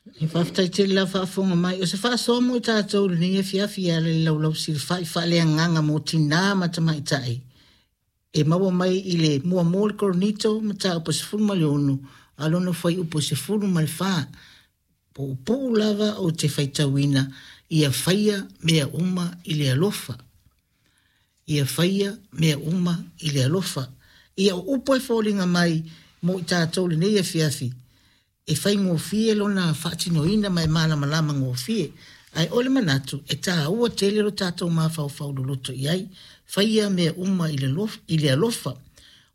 Faafetai tele lau faafofoga mai. O se faasoa mo i tatou i lenei afiafi e ala i le laulau silafai faaleagaga mo tinā ma tamaitai e maua mai i le muamua o le Korinito mataupu 16 a lona fuaiupu 14. Puupuu lava ou te faitauina ia faia mea uma i le alofa. Ia faia mea uma i le alofa. Ia o upu e foliga mai mo i tatou i lenei afiafi, e faigofie lona faatinoina ma e malamalama gofie. Ae o le manatu, e taua tele lo tatou mafaufau loloto i ai, faia mea uma i le alofa.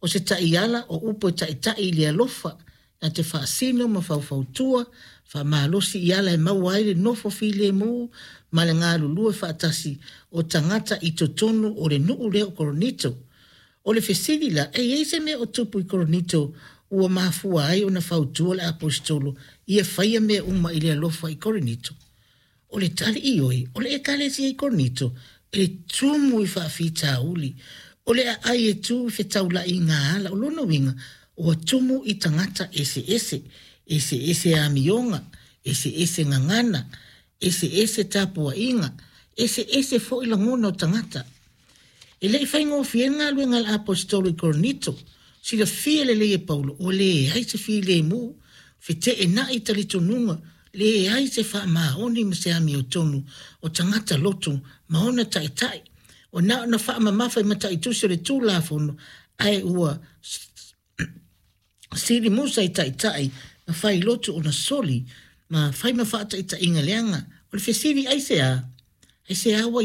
O se taiala o upu e taitai i le alofa, na te faasino ma faufautua, faamalosi i ala e maua ai le nofo filemu ma le galulue faatasi o tagata i totonu o le nuu lea o Korinito. O le fesili la, e i ai se mea o tupu i Korinito ua mafua ai ona fautua le Aposetolo ia faia mea uma i le alofa i Korinito? O le tali ioe, o le Ekalesia i Korinito e tumu i faafitauli, o le aai e tu i fetaulaiga ala. O lona uiga, ua tumu i tagata eseese, eseese amioga, eseese gagana, eseese tapuaiga, eseese foi lagona o tagata. E le i faigofie le galuega a le Aposetolo i Korinito. Silafia lelei e Paulo, ua leai se filemu, feteenai talitonuga, leai se faamaoni ma se amiotonu o tagata loto ma ona taitai. Ua na ona faamamafa i mataitusi o le Tulafono, ae ua sili musa i taitai ma fai lotu ona soli ma fai ma faataitaiga leaga. O le fesili, aisea? Aisea ua